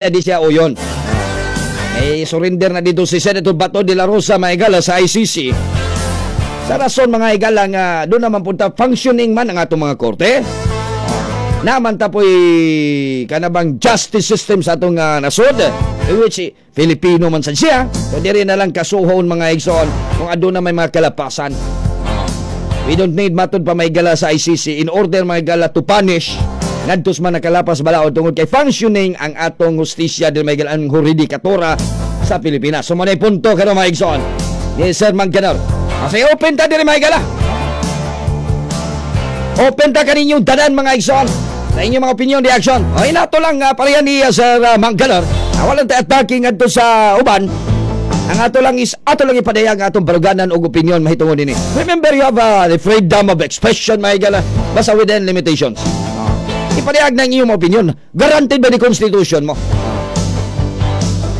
Di siya uyon. Eh, surrender na dito si Senator Bato de la Rosa, mga igala, sa ICC. Sa rason, mga igala, nga doon naman punta functioning man ang atong mga korte. Naman ta po'y kanabang justice system sa atong nasod. In which Filipino man sad siya. So diri na lang kasuhon, mga igsoon, kung aduna may mga kalapasan. We don't need matud pa, mga igala, sa ICC in order, mga igala, to punish ngadto sa mga nakalapas balaod tungod kay functioning ang atong hustisya diri, mga igala, ang jurisdikatura sa Pilipinas. So mo na punto karon, mga igsoon. Yes, Sir Mangkanor. Kasi open ta diri, mga igala. Open ta kaninyong tanan, mga igsoon, sa inyong mga opinion, reaction. O inato lang pareha ni Sir Mangkanor. Walang ta attacking ngadto sa uban. Ang ato lang is ato lang ipadayag ang atong baruganan og opinion mahitungod nini. Remember, you have the freedom of expression, mga igala, basta within limitations. Ipadayag na ang iyong opinion. Guaranteed by the Constitution mo.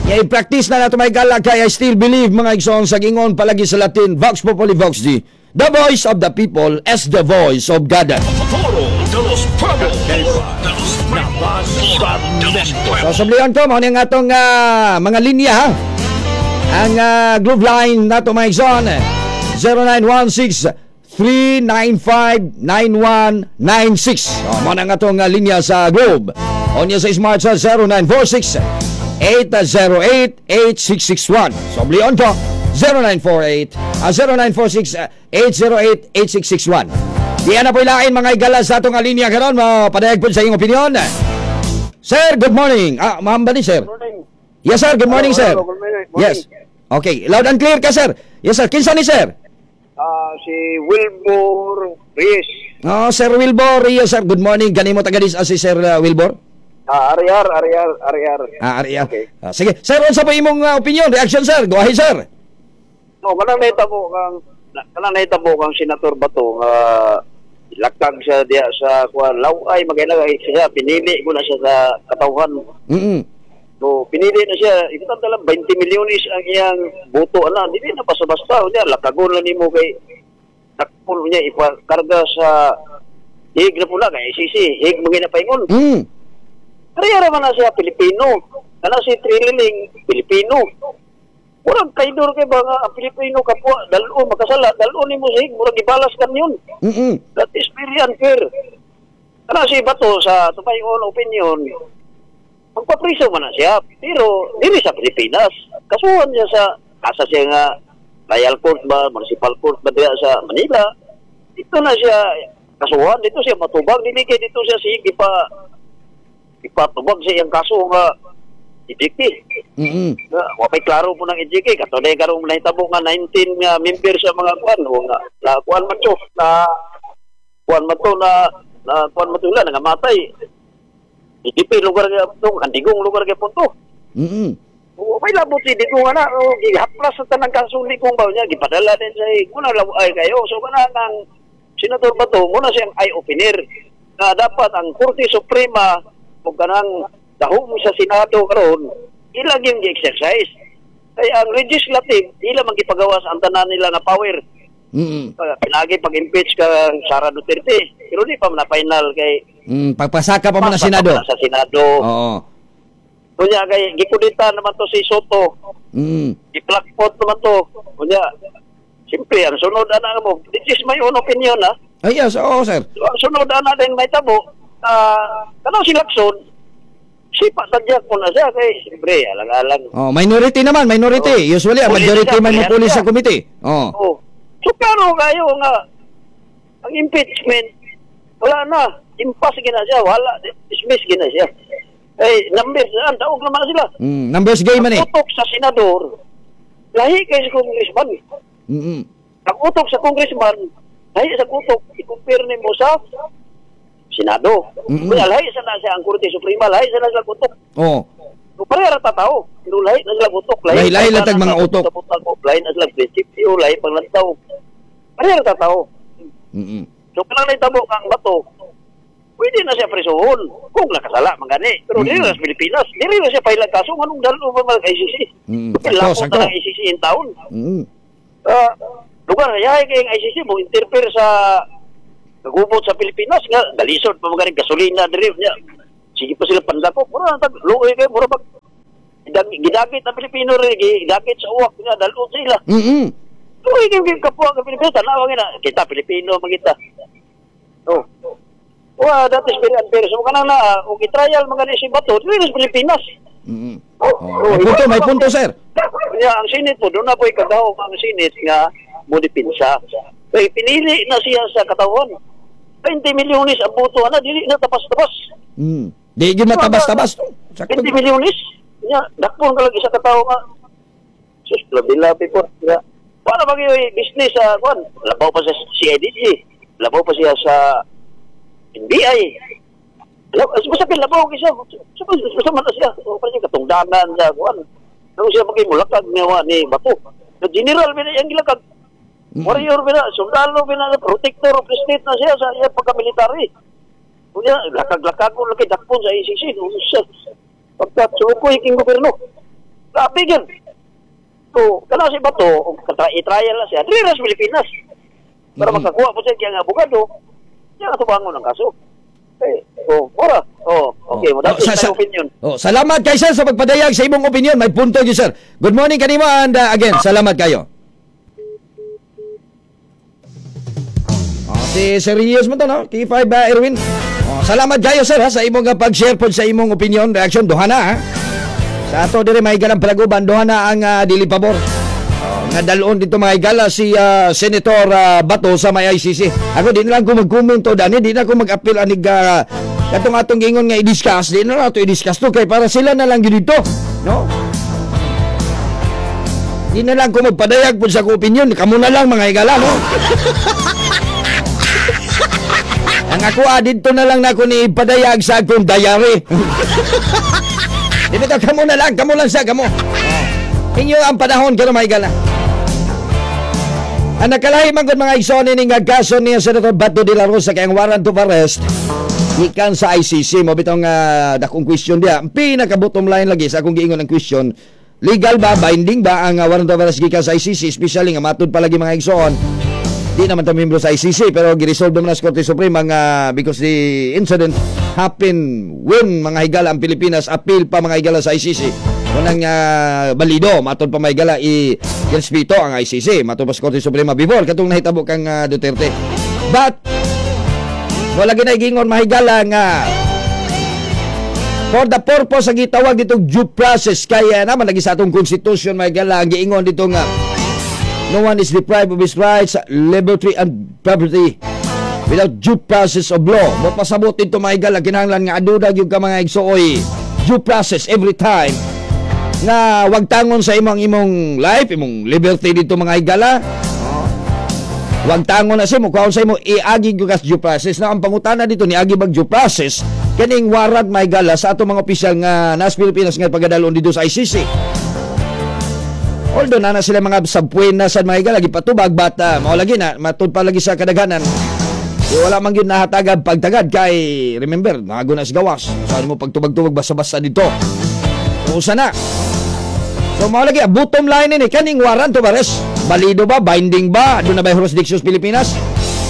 Ya, i-practice na nato, mga igala, kay I still believe, mga igsoon, sa gingon palagi sa Latin, "Vox populi vox Dei." The voice of the people is the voice of God. Foro de los Pueblos. De los Pueblos. De los Pueblos. So sublihan ko, mao ni ang atong mga linya ha. Ang Globe line nato, mga igsoon, 0916 395 9196. So, mao na ang atong linya sa Globe. O niya sa Smart sa 0946 808 8661. So, sublihan ko 0948 0946 808 8661. Di na po ilain, mga igala, sa atong linya karon, mapadayag po sa inyong opinion. Sir, good morning. Ah, ma'am ba ni sir? Morning. Yes, sir. Good morning, Hello, sir. hello, good morning. Morning. Yes. Okay. Loud and clear ka, sir. Yes, sir. Kinsa ni sir? Ah, si Wilbur Reyes. Oh, Sir Wilbur. Yes, sir. Good morning. Ganimo taga dis si Sir Wilbur? Ah, Ariar, Ariar, Ariar. Ah, Ariel. Okay. Ah, sige. Sir, unsa po imong opinion, reaction, sir? Go ahead, sir. No, kanang nahitabo kang Senator Bato nga lakag siya diya sa kuan laway magay siya, pinili ko na siya sa katawhan. So pinili na siya, ikutan lang 20 milyones ang iyang boto ana, dili na basta-basta unya lakagon lang nimo kay takpon niya ipakarga sa Hague na pula kay ICC, Hague mga napaingon. Kaya man na siya Pilipino. Kana si Trililing Pilipino. Murag traidor kay ba nga ang Pilipino kapwa dalo makasala, dalo nimo sa Hague, murag gibalas kan yun. That is very unfair. Kana si Bato, sa to my own opinion, magpapriso man na siya, pero dili sa Pilipinas. Kasuhan niya sa asa siya nga trial court ba, municipal court ba diya sa Manila. Dito na siya kasuhan, dito siya matubag, dili kay dito siya sige ipa ipatubag sa iyang kaso nga EJK. Na, wa pay klaro po ng EJK kato na karong nahitabo nga 19 nga member sa mga kuan o nga na kuan man to na kuan man to na na kuan man to nila nangamatay. EJP lugar nga to kandigong lugar gyapon to. O may labot si Digong ana o gihaplas sa tanang kaso ni kung ba niya gipadala din sa muna ay kayo. So kana ang Senador Bato muna siyang eye opener na dapat ang Korte Suprema ug kanang dahom sa Senado karon ilang yung gi-exercise kay ang legislative ila man gipagawas ang tanan nila na power. Pinagi pag-impeach ka Sara Duterte pero di pa man na final kay Pagpasaka pa man ang pasa pa Senado. man sa Senado. Kunya kay gikudita naman to si Sotto, i-plakpot naman to. Kunya, siyempre, ang sunod ana mo, this is my own opinion, ha. Ay, yes, oo, sir. So, ang sunod ana din may tabo, kanang si Lacson, sipa tadyak ko na siya kay siyempre, alang-alang. Oh, minority naman, minority. Oh. Usually, ang Pulis majority siya, man mo pulis pulis siya. sa committee. Oh. Oh. So, klaro kayo nga, ang impeachment, wala na. Impas gina siya, wala. Dismiss gina siya. Eh, numbers, ang daog naman na sila. Numbers game man eh. Ang utok sa senador, lahi kay sa congressman. Ang utok sa congressman, lahi sa utok, i-compare nimo sa Senado. Kaya lahi sa na siya ang Korte Suprema, lahi sa na sila utok. So, pareha ra ta tao, pero lahi na sila utok. Lahi-lahi lang tag mga utok. Lahi na sila prinsipyo, lahi panglantaw. Pareha ra ta tao. So, kanang nahitabo kang Bato, pwede na siya presohon kung nakasala man gani. Pero dili na sa Pilipinas, dili na siya pailag kaso nganong dalo pa man ICC. Kay Sakto, lapot sakto. na ng ICC in town. Ah, lugar yahay kay ang ICC mo interfere sa kagubot sa Pilipinas nga galisod pa magaling gasolina diri niya. Sige pa sila pandako. Mura na tag luoy kay mura pag gidagit ang Pilipino rin, gidagit sa uwak nga dalon sila. Luoy kay kapwa ang Pilipino, tanawa na kita Pilipino magita. Oh. Wa, that is very unfair. So kanang na og i-trial mga ni si Bato dili sa Pilipinas. Oh, may punto, sir. Yeah, ang Senate po, doon na po ikagahom ang Senate nga mo dipinsa. Kay pinili na siya sa katawan. 20 milyones ang boto ana, dili na tapas-tapas. Di gyud matabas-tabas to. Sakto. 20 milyones. Nya, dakpon ka lang isa ka tawo nga. Sus, labi-labi po. Ya. Paano ba kayo business sa kuan? Labaw pa sa CIDG. Labaw pa siya sa NBI. Basta labaw siya. Basta man na siya. O, pa siya katungdanan sa kuan. Ano siya magimulakag nga ni Bato. The general ba na iyang gilakag? Warrior ba na, sundalo ba na, protector of the state na siya sa iyang pagka-military. Kunya, lakag-lakag ko lagi dakpon sa ICC. Pagka sukoy king gobyerno. Grabe yun. So, kana si Bato, i-trial na siya, dili na sa Pilipinas. Para makakuha po siya kiyang abogado, siya katubangon ang kaso. Eh, oh, mura. Oh, okay. Oh, that is my opinion. Oh, salamat kay sir sa pagpadayag sa imong opinion. May punto gyud, sir. Good morning kanimo and again, salamat kayo. Oh, si serious mo to, no? K5 ba, Erwin? Oh, salamat kayo, sir, ha, sa imong pag-share pod sa imong opinion, reaction. Duha na, ha. Sa ato dire may galang palaguban, duha na ang dili pabor. Oh, nga dalon dito mga higala si Senator Bato sa may ICC. Ako di na lang ko mag-comment dani, di na ko mag-appeal anig katong atong giingon nga i-discuss, di na lang ato i-discuss to kay para sila na lang gyud dito, no? Di na lang ko magpadayag pud sa akong opinion, kamo na lang mga higala, no? Ang ako didto na lang nako ni padayag sa akong diary. Di ba kamo na lang, kamo lang sa kamo. Oh. Inyo ang panahon karon mga higala. Ang nakalahi man gud mga igsoon ini nga kaso ni Senator Bato de la Rosa kay ang warrant of arrest gikan sa ICC mo bitong dakong question diha. Ang pinaka bottom line lagi sa akong giingon ang question, legal ba, binding ba ang warrant of arrest gikan sa ICC, especially nga matud pa lagi mga igsoon di naman ta miyembro sa ICC pero gi-resolve naman sa Korte Suprema nga because the incident happen when mga higala ang Pilipinas appeal pa mga higala sa ICC. Unang balido matud pa mga higala i-respeto ang ICC matud pa sa Korte Suprema before katong nahitabo kang Duterte. But wala ginagingon mga higala nga for the purpose ang gitawag ditong due process kaya naman lagi sa atong constitution mga higala ang giingon dito nga no one is deprived of his rights, liberty, and property without due process of law. Mapasabot dito mga higala, kinahanglan nga adudag yung ka mga igsuoy due process every time nga wag tangon sa imong imong life, imong liberty dito mga higala. Wag tangon na sa imo, kuhaon sa imo, iagi gyud kas due process. Na ang pangutana dito niagi bag due process kaning warrant mga higala sa atong mga opisyal nga nas Pilipinas nga pagadalon dito sa ICC. Although na sila mga sabpuena sa mga higala gipatubag but mao lagi na matud pa lagi sa kadaghanan. Di wala man gyud nahatagad pagtagad kay remember nago na sa gawas. Saan mo pagtubag-tubag basta-basta dito. Usa na. So mao lagi bottom line ini kaning warrant of arrest. Balido ba, binding ba, doon na ba jurisdiction sa Pilipinas?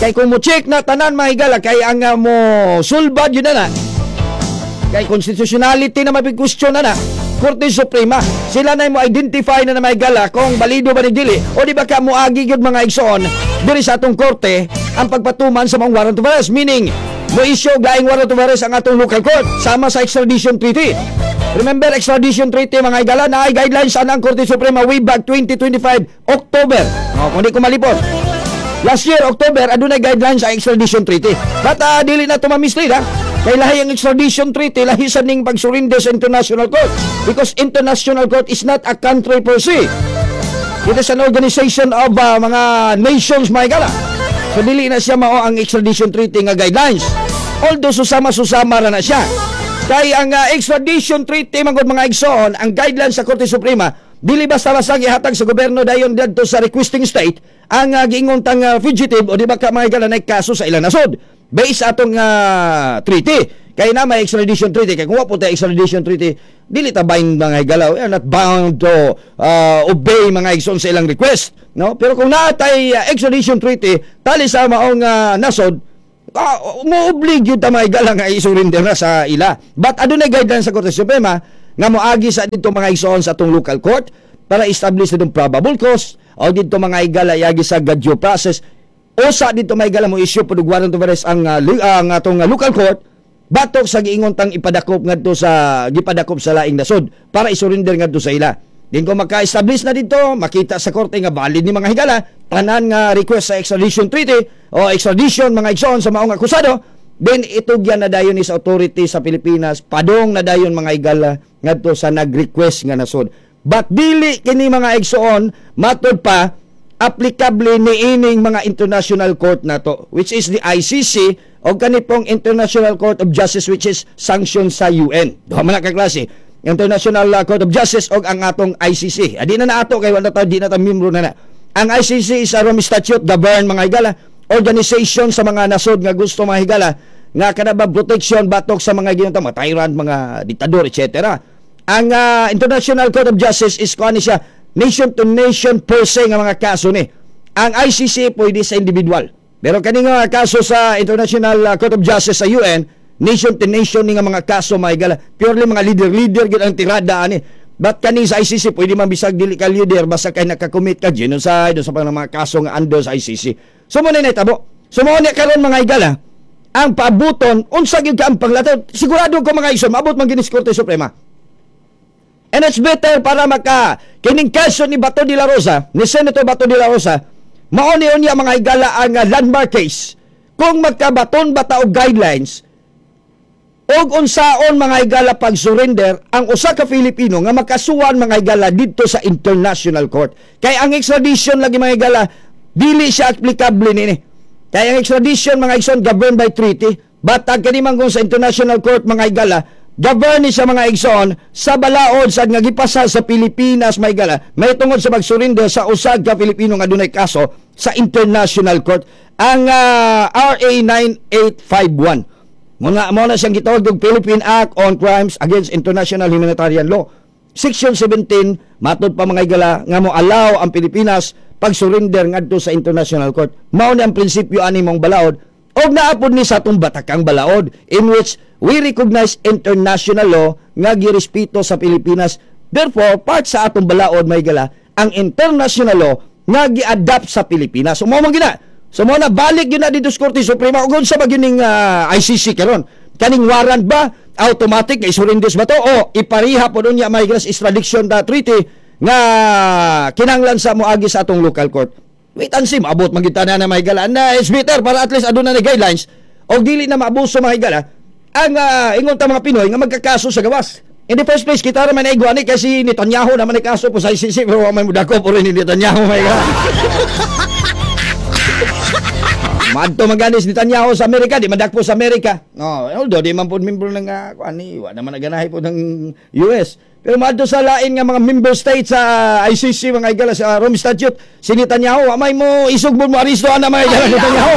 Kay kung mo check na tanan mga higala kay ang mo sulbad yun na na. Kay constitutionality na mapig-question na na. Korte Suprema, sila na mo identify na na may gala kung balido ba ni dili o di ba ka moagi gyud mga igsoon diri sa atong korte ang pagpatuman sa mga warrant of arrest, meaning mo issue og laing warrant of arrest ang atong local court sama sa extradition treaty. Remember extradition treaty mga higala na ay guidelines ang Korte Suprema way back 2025 October. O, kung di ko malipot. Last year October adunay guidelines sa extradition treaty. But dili na to ma-mislead ha. Kay lahi ang extradition treaty, lahi sa ning pagsurrender sa international court. Because international court is not a country per se. It is an organization of mga nations, mga higala. So dili na siya mao ang extradition treaty nga guidelines. Although susama-susama ra na siya. Kay ang extradition treaty man gud mga igsoon, ang guidelines sa Korte Suprema, dili basta-basta gihatag sa gobyerno dayon didto sa requesting state ang giingon tang fugitive o di ba ka mga higala na kaso sa ilang nasod. Based atong treaty. Kaya na may extradition treaty. Kaya kung wa po tayo extradition treaty, dili ta bind mga higala. We are not bound to obey mga igsoon sa ilang request. No? Pero kung naa tay extradition treaty, tali sa maong nasod, Mo-oblig yun ta, mga higala, nga i-surrender na sa ila. But adunay guidelines sa Korte Suprema nga moagi sa dito, mga igsoon, sa atong local court para establish itong probable cause o dito, mga higala, iagi sa due process o sa dito, mga higala, mo issue pod og warrant of arrest ang atong local court batok sa giingon tang ipadakop ngadto sa gipadakop sa laing nasod para isurrender ngadto sa ila. Din kung maka-establish na dito, makita sa korte nga valid ni, mga higala, tanan nga request sa extradition treaty o extradition, mga igsoon, sa maong akusado, then itugyan na dayon ni sa authority sa Pilipinas, padong na dayon, mga higala, ngadto sa nag-request nga nasod. But dili kini, mga igsoon, matod pa applicable ni ining mga international court nato, which is the ICC o kani pong International Court of Justice, which is sanction sa UN. Duha man na ka klase. International Court of Justice og ang atong ICC. Adi na naato kay wala ta, di na ta membro na na. Ang ICC is a Rome Statute govern, mga higala, organization sa mga nasod nga gusto, mga higala, nga kana ba protection batok sa mga ginunta mga tyrant, mga diktador, etc. Ang International Court of Justice is kuan ni siya, nation to nation per se nga mga kaso ni. Ang ICC pwede sa individual. Pero kani nga kaso sa International Court of Justice sa UN, nation to nation ni nga mga kaso, mga higala. Purely mga leader-leader gid ang tirada ani. But kani sa ICC, pwede man bisag dili ka leader basta kay nakakommit ka genocide o sa mga kaso nga under sa ICC. So mo na nahitabo. So mo ni karon, mga higala, ang paabuton unsa gyud ka ang panglatod. Sigurado ko, mga igsoon, maabot man gini sa Korte Suprema. And it's better para maka kining kaso ni Bato de la Rosa, ni Senator Bato de la Rosa, mao ni unya, mga higala, ang landmark case. Kung magkabaton ba ta og guidelines og unsaon, mga higala, pag-surrender ang usa ka Filipino nga makasuhan, mga higala, didto sa international court. Kay ang extradition lagi, mga higala, dili siya applicable nini. Kay ang extradition, mga igsoon, governed by treaty, but ang kani man kung sa international court, mga higala, govern ni siya, mga igsoon, sa balaod sa nga gipasa sa Pilipinas, mga higala, may tungod sa pag-surrender sa usa ka Pilipino nga dunay kaso sa international court, ang RA 9851. Mga mo na siyang gitawag og Philippine Act on Crimes Against International Humanitarian Law. Section 17, matod pa, mga higala, nga mo allow ang Pilipinas pag-surrender ngadto sa international court. Mao ni ang prinsipyo ani mong balaod og naapod ni sa atong batakang balaod in which we recognize international law nga girespeto sa Pilipinas. Therefore, part sa atong balaod, mga higala, ang international law nga gi-adapt sa Pilipinas. So mao man gina. So mo na balik yun na dito sa Korte Suprema ug unsa ba gining ICC karon? Kaning warrant ba automatic nga isurrender ba to o ipariha pod unya may extradition da treaty nga kinahanglan sa moagi sa atong local court? Wait and see, maabot man gyud na na, mga higala. Na it's better para at least aduna na guidelines o dili na maabuso, mga higala, ang ingon ta mga Pinoy nga magkakaso sa gawas. In the first place, kita raman ay guani kasi Netanyahu naman ay kaso po sa ICC pero wa man mudako po rin ni Netanyahu, mga higala. Madto maganis Netanyahu sa Amerika, di madakpo sa Amerika. No, although di man po membro ng ani, wa naman naganahi po ng US. Pero madto sa lain nga mga member states sa ICC, mga higala, sa Rome Statute, si Netanyahu, wa may mo isugbon mo aristo ana, mga higala, Netanyahu.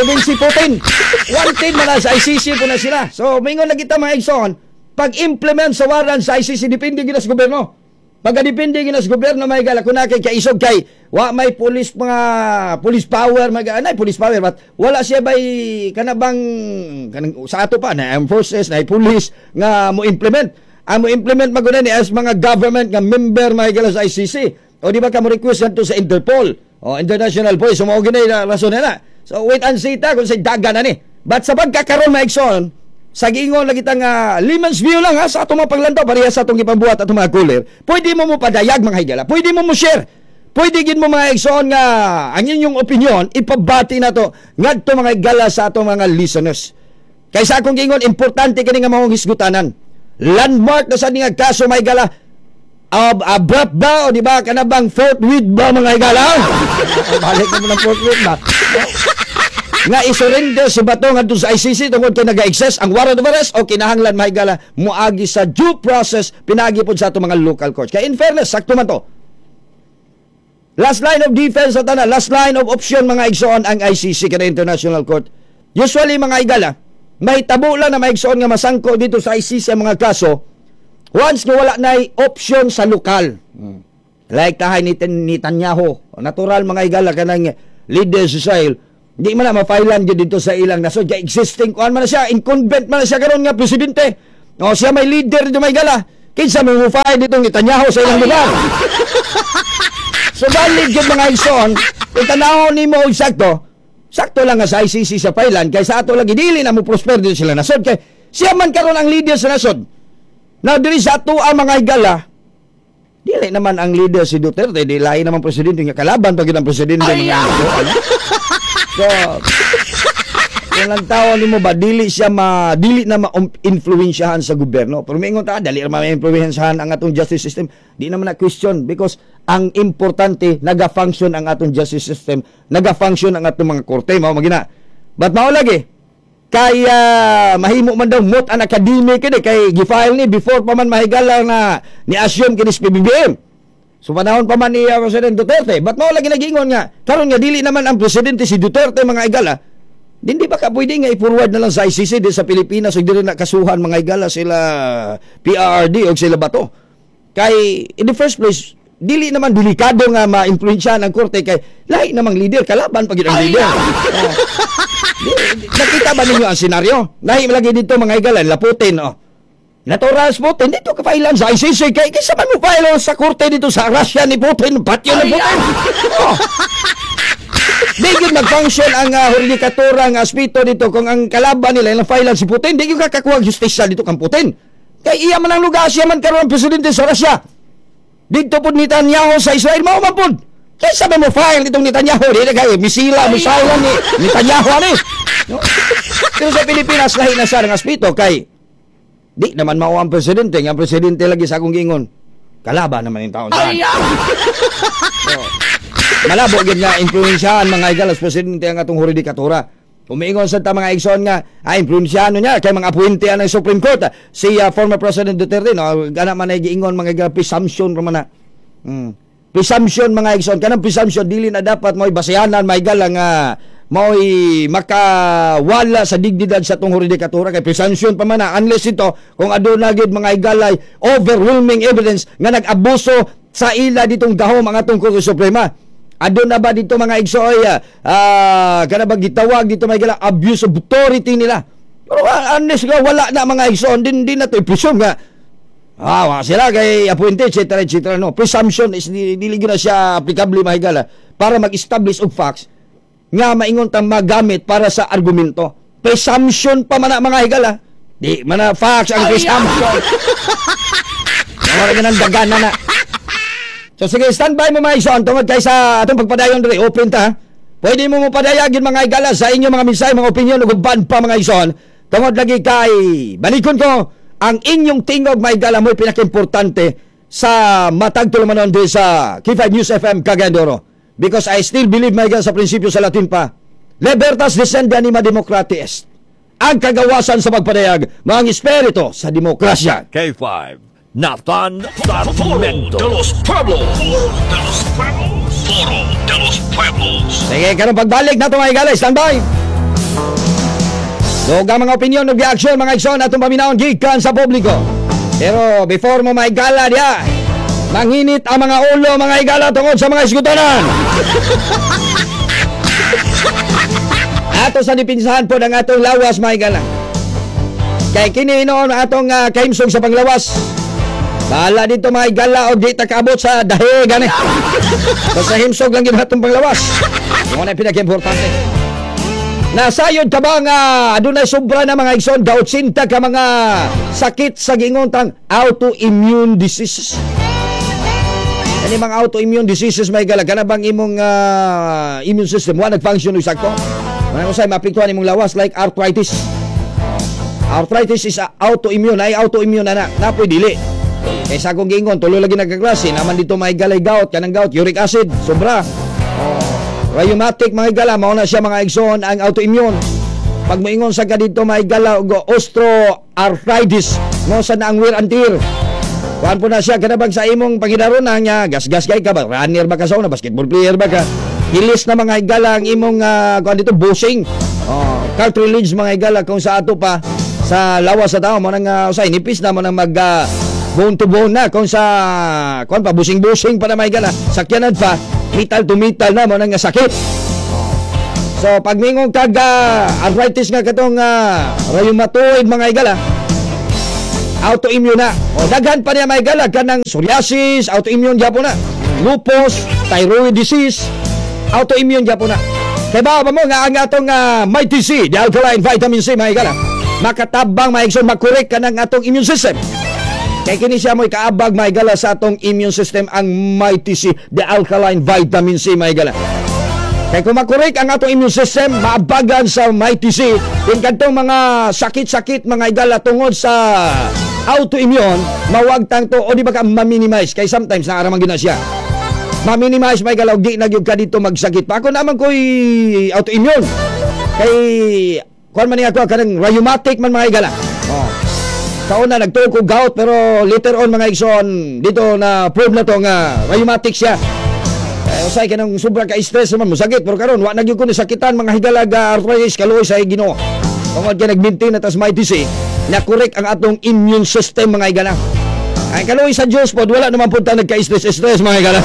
Even si Putin, wanted man na sa ICC po na sila. So, mingon na kita, mga igsoon, pag-implement sa warrant sa ICC, depende gina sa gobyerno. Pagka-depende gina sa gobyerno, mga higala, kung kay kaisog kay wa may police, mga police power, mag anay police power, but wala siya bay kanabang kanang sa ato pa na armed forces na police nga mo implement. Ang mo implement maguna ni as mga government nga member, mga higala, sa ICC. O di ba ka mo request ngadto sa Interpol o International Police, so mao gini na rason na. So wait and see ta kung sa daga na ni. But sa pagkakaron, mga igsoon, sa giingon lagi ta nga layman's view lang ha, sa atong mga paglantaw pareha sa atong gipambuhat atong mga caller. Pwede mo mo padayag, mga higala. Pwede mo mo share. Pwede gid mo, mga igsoon, nga ang inyong opinion ipabati na to ngadto, mga higala, sa atong mga listeners. Kay sa akong giingon, importante kini nga maong hisgutanan. Landmark na sa nga kaso, mga higala. Abrupt ba o di ba kanabang forthwith ba, mga higala? Balik na mo ng forthwith ba? Nga isurrender si Bato ngadto sa ICC tungod kay naga-exist ang warrant of arrest o kinahanglan, mga higala, moagi sa due process pinagi pod sa atong mga local courts. Kay in fairness, sakto man to. Last line of defense sa tanan, last line of option, mga igsoon, ang ICC kada International Court. Usually, mga higala, may tabo lang na, mga igsoon, nga masangko dito sa ICC ang mga kaso once nga wala na option sa lokal. Like tahay ni Netanyahu, natural, mga higala, kanang leader sa Israel. Di man na ma-filean gyud dito sa ilang nasod kay existing kuan man na siya, incumbent man na siya karon nga presidente. O siya may leader dito, may gala. Kinsa may mo-file dito Netanyahu sa ilang lugar? So valid gyud, mga igsoon, kung tanawon nimo og sakto, sakto lang nga sa ICC sa filean kay sa ato lagi dili na mo prosper dito sila nasod kay siya man karon ang leader sa nasod. Now diri sa ato ang mga higala, dili naman ang leader si Duterte, di lahi naman presidente nga kalaban pag ang presidente, mga ano. So, kung ang tao nimo ba dili siya ma dili na ma-influensyahan sa gobyerno. Pero mingon ta dali ra ma-influensyahan ang atong justice system. Di naman na question because ang importante, naga-function ang atong justice system, naga-function ang atong mga korte, mao magina. But mao lagi kay mahimo man daw moot an academic kini kay gi-file ni before pa man mahigala na ni assume kini si PBBM. So panahon pa man ni President Duterte, but mao lagi nagingon nga karon nga dili naman ang presidente si Duterte, mga igala. Hindi ba ka pwede nga i-forward na lang sa ICC di sa Pilipinas ug dili na kasuhan, mga igala, sila PRRD o sila Bato? Kay in the first place, dili naman delikado nga ma-influensyahan ang korte kay lahi namang leader, kalaban pag ang leader. Oh. Nakita ba ninyo ang senaryo? Lahi lagi dito, mga igala, la Putin, oh. Natural Putin dito ka file sa ICC kay kaysa man mo file sa korte dito sa Russia ni Putin, patyo ni Putin. Oh. Di gyud mag-function ang judikatura nga aspeto dito kung ang kalaban nila ilang file si Putin, di gyud kakakuha ang justisya dito kang Putin. Kay iya man ang lugar, siya man karon ang presidente sa Russia. Dito pud Netanyahu sa Israel, mao man pud. Kaysa ba mo file itong Netanyahu, di na kay misila, misala ni Netanyahu ani. No? Pero sa Pilipinas, lahi na siya ng aspeto kay di naman mao ang presidente, nga ang presidente lagi sa akong giingon. Kalaban naman yung taon saan. So, malabo gyud nga influensyahan, mga igala, sa presidente ang atong judikatura. Umiingon sa ta, mga igsoon, nga ay influensyahan niya kay mga appointee ang Supreme Court. Si former President Duterte, no, gana man ay giingon, mga igala, presumption ra man na. Presumption, mga igsoon, kanang presumption dili na dapat mo'y basehanan, mga igala, nga mao'y makawala sa dignidad sa atong judikatura kay presumption pa man na unless ito kung aduna gyud, mga igalay, overwhelming evidence nga nag-abuso sa ila ditong gahom ang atong Korte Suprema. Aduna ba dito, mga igsoy, kana ba gitawag dito, mga igala, abuse of authority nila? Pero unless nga wala na, mga igsoon, din na to i-presume nga wa sila kay appointed, etc., etc. No, presumption is dili gyud na siya applicable, mga higala, para mag-establish og facts nga maingon tang magamit para sa argumento. Presumption pa man na, mga higala. Di man na facts ang presumption. Wala ka ng dagan na na. So sige, stand by mo, mga igsoon, tungod kay sa atong pagpadayon diri, open ta. Pwede mo mopadayag yun, mga higala, sa inyong mga mensahe, mga opinion ug uban pa, mga igsoon. Tungod lagi kay balikon ko ang inyong tingog, mga higala, mo'y pinaka-importante sa matag tulumanon diri sa K5 News FM Cagayan de Oro. Because I still believe, mga higala, sa prinsipyo sa Latin pa. Libertas dicendi anima democratiae est. Ang kagawasan sa pagpadayag, mga espiritu sa demokrasya. K5, Nathan Foro Sarmiento. De los Pueblos. Foro de los Pueblos. Foro de los Pueblos. Sige, karon pagbalik na ito, mga higala, stand by. Dugang mga opinion ug reaksyon, mga igsoon, atong paminawon gikan sa publiko. Pero before mo mahigala diya, manginit ang mga ulo, mga higala, tungod sa mga isgutonan. Ato sa dipinsahan po ng atong lawas, mga higala. Kay kini noon atong kahimsog sa panglawas. Bahala dito, mga higala, o di ta kaabot sa dahi gani. Basta himsog lang yun atong panglawas. Yung na pinaka-importante. Nasayod ka ba nga adunay sobra na, mga igsoon, ga 80 ka mga sakit sa giingon tang autoimmune diseases? Kani mga autoimmune diseases, may gala kana bang imong immune system wa nag-function og sakto? Wala mo say maapektuhan imong lawas like arthritis. Arthritis is autoimmune, ay autoimmune na na, napoy dili. Kay sa akong giingon, tulo lagi nagkaklase, naman dito may galay gout, kanang gout, uric acid, sobra. Oh, rheumatic, mga higala, mao na siya, mga igsoon, ang autoimmune. Pag moingon sa ka dito, mga higala, og osteoarthritis, mo sa na ang wear and tear. Kuan po na siya, kana bang sa imong pangidaron nga gas-gas kay ka ba, runner ba ka sa una, basketball player ba ka? Hilis na, mga higala, ang imong kuan dito, busing. Oh, cartilage, mga higala, kung sa ato pa sa lawas sa tao mo nang usay nipis na mo nang mag bone to bone na kung sa kuan pa, busing-busing pa na, mga higala, sakyanan pa, metal to metal na mo nang sakit. So pag mingon kag arthritis nga katong rheumatoid, mga higala, autoimmune na. O daghan pa niya, mga higala, kanang psoriasis, autoimmune gyapon na. Lupus, thyroid disease, autoimmune gyapon na. Kay ba mo nga ang atong Mighty C, the alkaline vitamin C, mga higala, makatabang, mga igsoon, makorek kanang atong immune system. Kay kini siya mo'y kaabag, mga higala, sa atong immune system, ang Mighty C, the alkaline vitamin C, mga higala. Kay kung makorek ang atong immune system, maabagan sa Mighty C, kung kadtong mga sakit-sakit, mga higala, tungod sa autoimmune, mawagtang to o di ba ka ma-minimize. Kay sometimes naa ra man gyud na siya. Ma-minimize, mga higala, og di na gyud ka dito magsakit pa. Ako naman ko'y autoimmune. Kay kuan man niya ako, kanang rheumatic man, mga higala. Oh. Sa una nagtuo ko gout, pero later on, mga igsoon, dito na prove na to nga rheumatic siya. Eh, usay kanang sobra ka stress naman mo sakit, pero karon wa na gyud ko sakitan, mga higala, ga arthritis, kaluoy sa Ginoo. Tungod kay nag-maintain na tas Mighty C, na correct ang atong immune system, mga higala. Ay, kaluoy sa Diyos pod, wala naman pud ta nagka-stress stress, mga higala.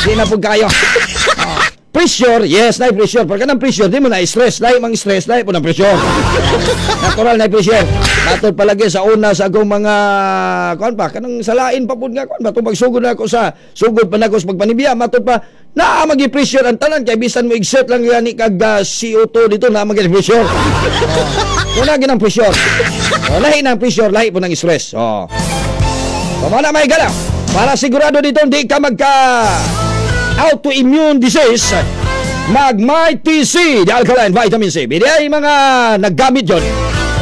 Di na pud kayo. Oh. Pressure, yes, na pressure. Pero kanang pressure, di mo na stress. Lahi mang stress, lahi po ng pressure. Natural na pressure. Matod palagi sa una sa akong mga kuan pa, kanang salain pa pud nga kuan ba, tubag sugod na ako sa sugod pa nako sa pagpanibya, matod pa naa magi pressure ang tanan kay bisan mo exert lang gani kag CO2 dito, naa magi pressure. Oh. Una ginang pressure. Oh, lahi ng pressure, lahi po ng stress. Oh. So, mga may gala, para sigurado dito hindi ka magka autoimmune disease, mag Mighty C, the alkaline vitamin C. Bili ay mga naggamit yon.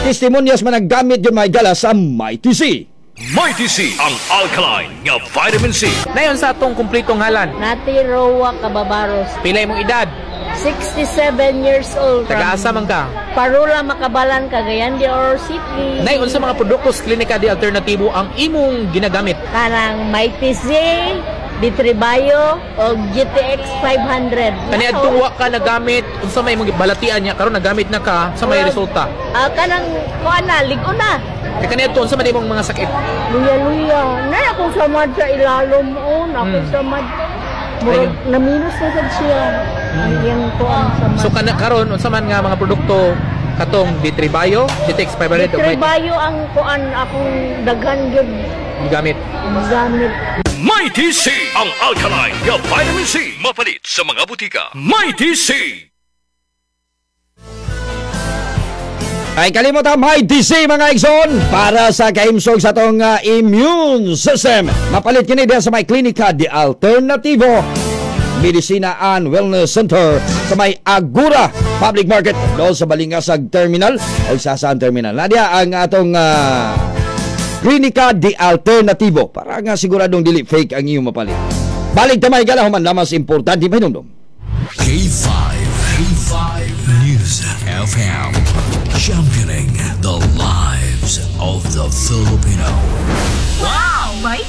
Testimonials man naggamit yun, mga higala, sa Mighty C. Mighty C, ang alkaline nga vitamin C. Nayon sa atong kumpletong ngalan? Nati Roa Cababaros. Pila imong edad? 67 years old. From Taga-asa man ka? Parula, Makabalan, Cagayan de Oro City. Nay, unsa mga produkto sa Klinika di Alternatibo ang imong ginagamit? Kanang Mighty C, Ditribayo, o GTX 500. Kaniadtong wa ka nagamit, unsa may imong balatian niya karon nagamit na ka sa may resulta? Ah, kanang kuan na, lig-on na. Kay kaniadto unsa man imong mga sakit? Luya-luya. Nay, akong samad sa ilalom on, akong samad. Murag naminus na sad siya. Ang iyang kuan samad. So kana karon unsa man nga mga produkto katong Ditribayo, GTX 500 ug Mighty Ditribayo ang kuan akong daghan gyud gamit? Gamit. Mighty C, ang alkaline nga vitamin C. Mapalit sa mga butika. Mighty C. Ay kalimot ang Mighty C, mga igsoon, para sa kahimsog sa atong immune system. Mapalit kini diha sa may Klinika di Alternativo Medicina and Wellness Center sa may Agura Public Market doon sa Balingasag Terminal o sa Saan Terminal. Nadia ang atong Klinika di Alternativo para nga siguradong dili fake ang iyong mapalit. Balik tamay gala human lamas importante pahinumdum. K5, K5 News FM, championing the lives of the Philippines.